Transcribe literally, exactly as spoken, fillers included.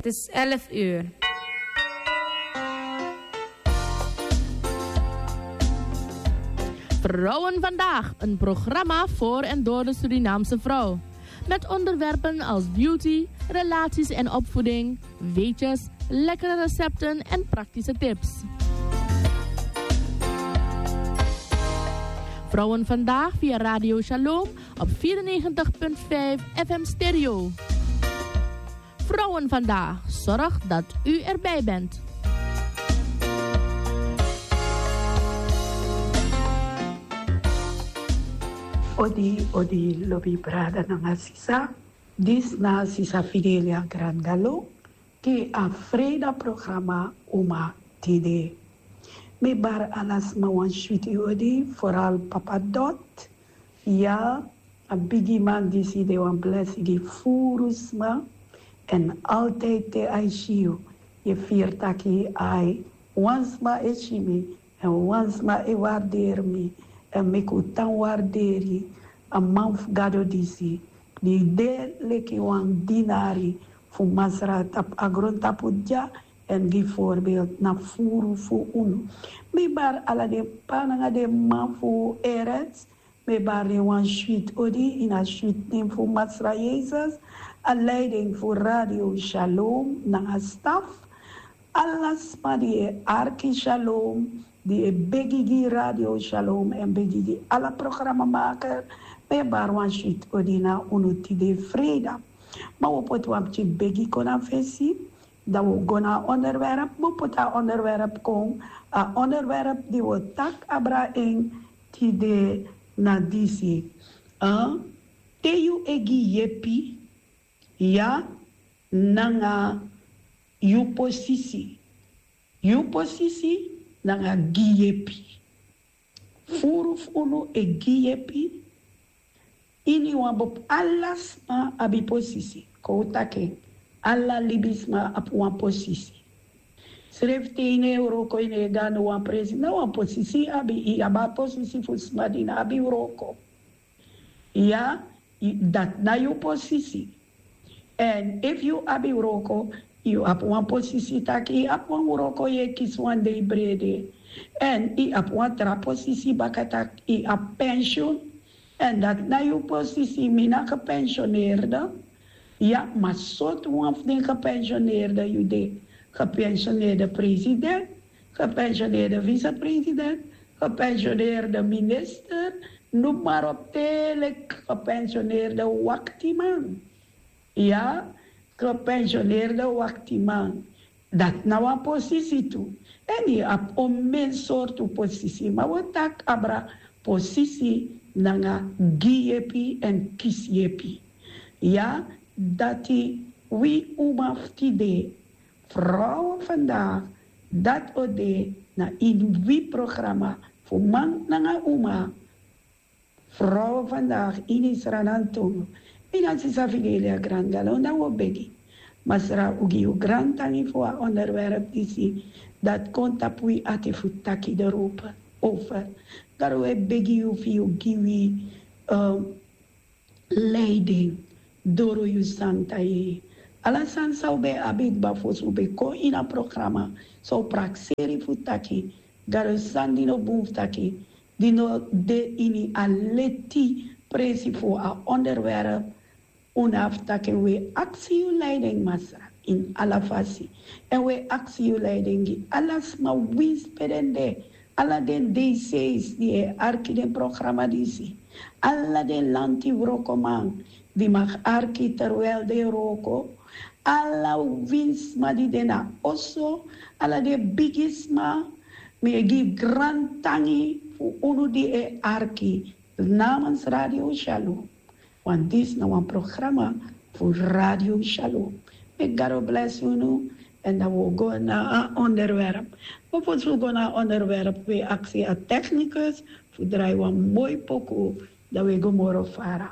Het is elf uur. Vrouwen vandaag, een programma voor en door de Surinaamse vrouw. Met onderwerpen als beauty, relaties en opvoeding, weetjes, lekkere recepten en praktische tips. Vrouwen vandaag via Radio Shalom op vierennegentig punt vijf F M stereo. Vrouwen vandaag, zorg dat u erbij bent. Odi, odi, lobi brada nanga sisa. Disi na sisa Fidelia Grandalo, te a freida programa Uma Tide. Mi bari ala sma wan switi odi, vooral Papa Dot. Ya, a bigi man disi de wan blesi gi furu sma. En altijd te a e si yu, yu e firi taki ai, wan sma e si mi, en wan sma e warderi mi, en meki un tan warderi a man fu Gado disi, di de leki wan dinari fu Masra tapu a grontapu dya, en gi voorbeeld na furu fu unu. Mi bari ala den p'pa nanga den m'ma fu Erets, mi e bari den wan switi odi ini a switi nen fu Masra Yesus, a leiding fu Radio Shalom nanga staf. Ala sma di e arki Shalom, di e begi gi Radio Shalom en begi gi ala programmamaker, mi e bari wan switi odi na unu tide freida. Ma wi o poti wan pikin begi kon na fesi, dan wi o go na a onderwerp, wi o poti a onderwerp kon, a onderwerp di wi o taki abra en tide na disi. Eh, te yu e gi yepi, ya, nanga yu posisi. Yu posisi nanga gi yepi. Furu fu unu e gi yepi. Ini wan bepaalde sma abi posisi. Kon un taki en, ala libisma abi wan posisi. Srefi te yu no e wroko, yu no e go na wan presi, na wan posisi yu abi, yu abi a posisi fu sma di no abi wroko. Ya, yu, dati na yu posisi. En efu yu abi wroko, yu abi wan posisi taki yu abi wan wroko, yu e kisi wan dei brede. En yu abi wan tra posisi baka taki yu abi pensioen. En dati na yu posisi, mi na gepensioneerde. Ya, ma sortu wan fu den gepensioneerde yu de? Gepensioneerde president, gepensioneerde vicepresident, gepensioneerde minister, noem maar op, te leki gepensioneerde waktiman. Ya, gepensioneerde waktiman. Dati na wan posisi tu. En yu abi onmen sortu posisi, ma wi o taki abra posisi nanga gi yepi en kisi yepi. Ya, dati wi uma fu tide, vrouwen vandaag, dati o de na ini wi programma fu man nanga uma. Vrouwen vandaag ini Sranan Tongo. Mi na sisa Fidelia Grandalo, dan wi o begi Masra un gi yu grantangi fu a onderwerp disi, dati kon tapu wi ati fu taki erover. Gado, wi e begi yu fu yu gi wi, eh, leiding doro yu santa yeye. Ala sani san un ben abi kba fosi un ben kon ini a programma, san un prakseri fu taki, Gado, sani di no bun fu taki, di no de ini a leti presi fu a onderwerp, un no abi fu taki en. Wi e aksi yu leiding, Masra, ini ala fasi. En wi e aksi yu leiding gi ala sma winsi pe den de, ala den D C's di e arki den programma disi, ala den lanti wrokoman di mag arki terwijl den e wroko, ala winsi sma di de na oso, ala den bigisma, mi e gi grantangi fu unu di e arki namens Radio Shalom. Want disi na wan programma fu Radio Shalom. Meki Gado blesi unu, en dan wi o go na a onderwerp. Ma fosi wi go na a onderwerp, wi e aksi a technicus fu drai wan moi poku, dan wi e go moro fara.